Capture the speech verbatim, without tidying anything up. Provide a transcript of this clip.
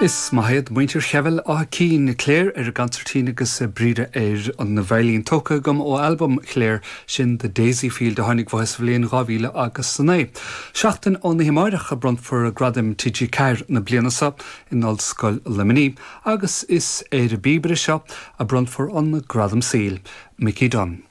Is maith iad muintir Cheibheal Átha Cinn Claire ar an gconsairtín agus Bríde ar an veidhlín tógtha agam ó albam Claire sin The Daisy Field a tháinig amach sa bhliain dhá mhíle agus a naoi. Seachtain ón oíche amárach a bronnfar gradaim TG Ceathair na bliana seo in Ollscoil Luimnigh agus is ar an bpíobaire seo a bronnfar an gradam saoil, Mickey Dunne.